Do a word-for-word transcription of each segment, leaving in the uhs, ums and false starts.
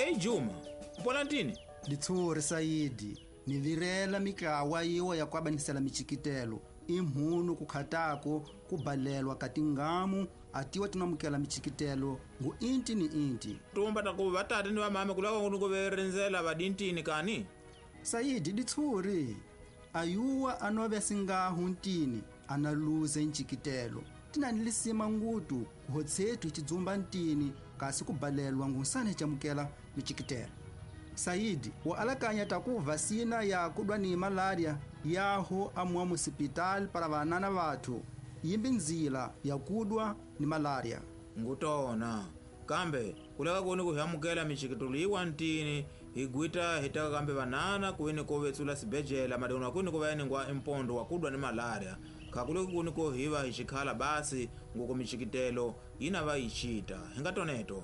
Ei Juma, upola ntini? Ditshuri Saidi, ni virela mitlawa yiwa ya kuabanisela michikitelo. Imhunu kukhatako kubalelwa katingamu atiwa tinamukela michikitelo ngu inti ni inti. Tumba taku vatati ni vamame kulaka ngunu kuverenzela vadintini kani? Saidi ditshuri, ayuwa anove singahu ntini analuze nchikitelo. Tinanilisima ngutu kuhotsetu ichidzumba ntini kasi kubalelwa ngunsane chamukela michikitelo. Saidi wa alakanya takuva sina ya kudwa ni malaria yaho amwa musipitali para vanana vathu yimbi nzila ya kudwa ni malaria. Ngutona kambe kulaka kuni kuhamukela michikitelo yiwa ntini higwita hitaka kambe vanana kuini kovetsula sibejela madona kuni kuvayeningwa impondo wa kudwa ni malaria. Kakule kuni ko hiva hichikhala basi ngoko michikitelo ina va ichita hingatoneto.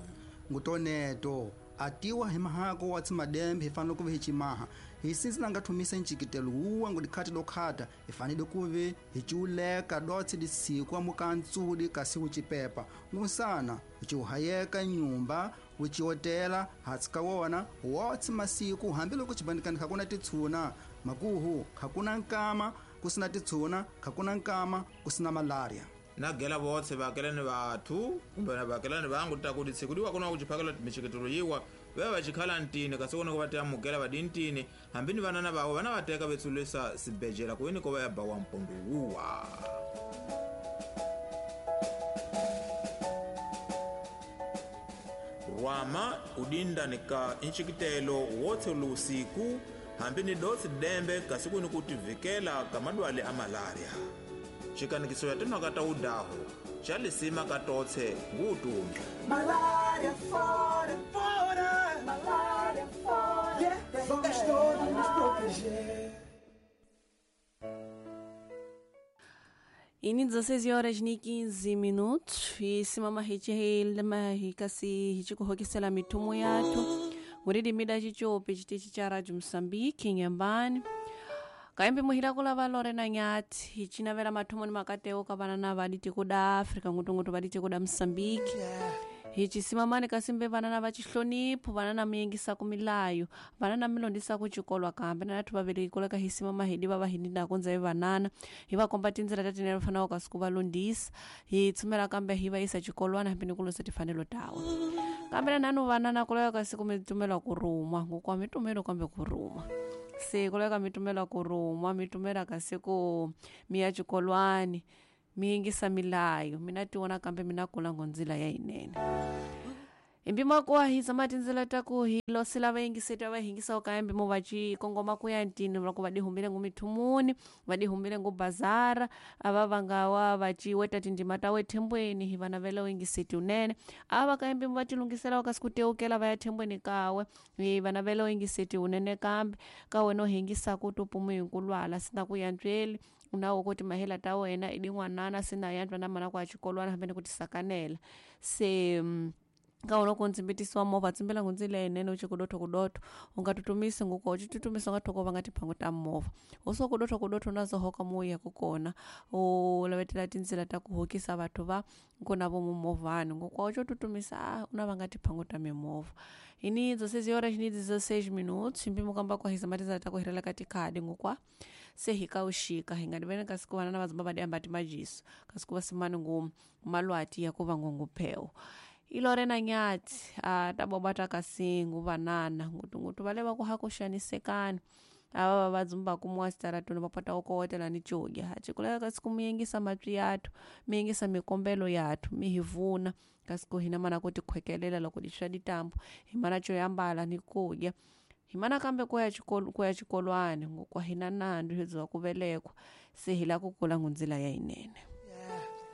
Ngutoneto atiwa himahako wa tsimadembe hifanele kuve hichimaha hisinzi nanga thumisa nchikitelo uwa ngudikhati dokhata hifanele kuve hichiuleka dotsi disiku amukantsudi kasi uchipepa ngusana uchiuhayeka nyumba uchiotela hatsika wona wotsi masiku hambiloko chibandikani khakuna titshuna makuhu khakuna nkama kusina titshuna khakuna nkama kusina malaria. Nagela votse vakelani vathu kumbe na vakelani vangu takuti tsiku liwa kuna kuchiphakela michikitelo yiwa veva vachikhala ntini kasi kuna kuvateamukela vadintini hambi ni vanana vavo vana vateka vetsulisa sibejela kuini kova ya bawa mpondo wuwa. Rwama udinda nika nchikitelo wotse lusiku hambi ni dotsi dembe kasi kuni kutivikela kamadwale a malaria. Chikanikiso ya tena kata udaho chalisima katotse ngutumbi. Malaria fora, fora, malaria fora, yeah, vamos todos nos proteger. Ini dezesseis horas e quinze minutos e simama hichi hikasi hichikuhokisela mitumo yathu nguridi mida chichope chitichi cha Radio Mozambique nyambani. Kaembe muhila kula valore na nyati hichinavela mathumo ni makateo ka vana na vaditi kuda Afrika ngutungutu vaditi kuda Mozambique. Hichisimamani kasimbe vana na vachihlonipho vana na miyengisa kumilayo vana na milondisa kuchikolwa kambe na nathu vaveleki kuleka hisimama hidi va vahindinda kunza vanana hi va komba tindzela ta tinene fanaka kasi ku va londisa hi tsumela kambe hi va yisa chikolwana hambi ni ku losa tifanelo tawa kambe na nanu vanana kuleka kasi ku mi tumela ku ruma ngokwa mi tumelo kambe ku ruma se kuleka mi tumela ku ruma mi tumela kasi ku mi ya chikolwani mi yingisa milayo mina tiwona kambe mina kula ngondzila ya yinene. Impimo kwa hiza matindzela ta ku hi losela va yingiseta va hingisa ka impimo va ci kongoma ku ya ntini loko va dihumbile ngu mithumuni va dihumbile ngu bazara ava va nga wa va ci weta tindima ta we thembweni hi vana vela yingiseti unene ava ka impimo va tilungisela ka siku teukela va ya thembweni kawe hi vana vela yingiseti unene kambe ka wena hingisa ku tupumu hinkulwala sina ku yantsweli unawo kuti mahela ta wena idin'wanana sina yantwa na mana kwa xikolwana hambi ni ku tisakanela se ka wona ku ndzimbitisiwa movha tsimbela ngundzila yinene u ci kudotho kudotho u nga tutumisi nguko u ci tutumisa u nga thoko va nga tiphangu ta movha u so kudotho kudotho na zo hoka mo ya ku kona u lavetela tindzila ta ku hokisa vathu va ku na vo mumovhani nguko u co tutumisa u na va nga tiphangu ta mimovha ini dezesseis horas ni dezesseis minutos mpimo kamba kwa hiza matindzela ta ku hirela ka tikhadi ngukwa se hi ka uxika hi nga diveni kasi ku vana na vadzumba va diamba timajiso kasi ku va simani ngu malwati ya ku va ngonguphewo. Ilore na nyati a tabobata kasingu vanana ngutungutu vale va ku hakuxanisekana ava va dzumba kumwa sitaratuni va pota ku kowetela ni codya acikuleka kasi ku mi yingisa matwi yathu mi yingisa mikombelo yathu mi hi vuna kasi ku hina mana ku tikhwekelela loko di swa ditambu hi mana co yambala ni kudya hi mana kambe ku ya xikolo ku ya xikolwani ngokwa hina nandzu hi byiwa ku velekwa se hi la ku kula ngundzila ya yinene.